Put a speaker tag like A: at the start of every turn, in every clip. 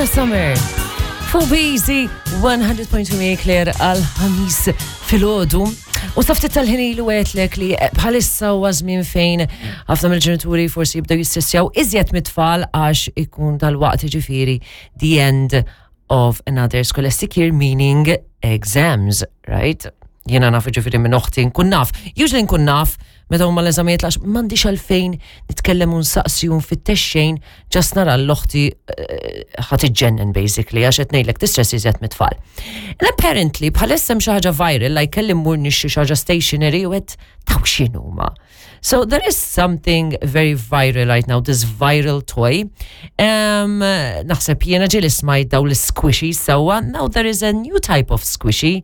A: Donna Summer. Fuq Busy 100.2 Claire għal-ħamis filgħodu. U saftit tal-ħin ilu għetlek li bħalissa huwa żmien fejn ħafna mill-ġenituri forsi jibdew jistessjaw iżjed mit-tfal għax ikun dal-waqt ġifieri the end of another scholastic year meaning exams, right? Jiena naf ġifieri minn oħti nkun naf. Usually nkun naf meta huma l-eżamijiet għax m'għandix għalfejn nitkellem u nsaqsi u nfittex xejn, ġast nara l-oħti eh, ħa tiġġennen basically għax qed ngħidlek tistress iżjed mit-tfal. And apparently bħalissa hemm xi ħaġa viral like kelli mmur nixxi xi ħaġa stationery u qed taw x'inhuma. So there is something very viral right now, this viral toy. Um, naħseb jiena ġieli smajt daw l-squishy sewwa, now there is a new type of squishy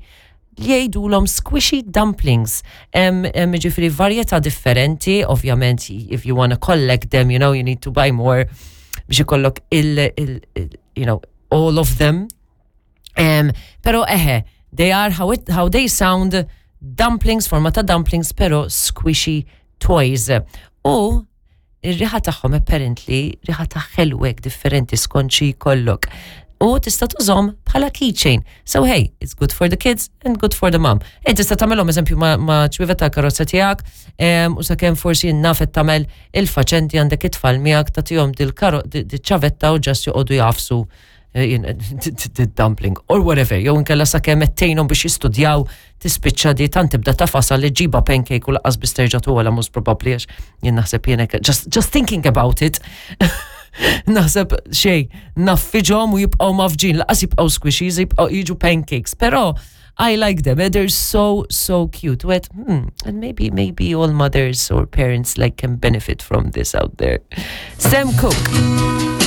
A: li jgħidulhom squishy dumplings. Hemm ġifieri varjetà differenti, ovvjament if you wanna collect them, you know, you need to buy more biex ikollok il, il, il you know, all of them. Um, pero eħe, they are how, it, how they sound dumplings, forma ta' dumplings, pero squishy toys. U Ir-riħa tagħhom apparently riħa ta' ħelu hekk differenti skont xi jkollok. U tista' tużhom bħala keychain. So hey, it's good for the kids and good for the mom. E tista' tagħmelhom eżempju ma', ma ċwievet tal-karozza tiegħek u sakemm forsi naf qed tagħmel il-faċenti għandek it-tfal miegħek tagħtihom dil-ċavetta u ġast joqogħdu jagħfsu eh, dumpling or whatever, jew inkella sakemm qed tgħinhom biex jistudjaw tispiċċa di tant tibda tafasa li ġiba pancake u laqas biss terġa' tuħla most probabbli għax jien naħseb jien just, just thinking about it. naħseb xej, naffiġhom u jibqgħu mafġin, laqas jibqgħu squishies, jibqgħu jiġu pancakes, però I like them. Eh, they're so, so cute. Wet, and maybe, maybe all mothers or parents like can benefit from this out there. Sam Cooke.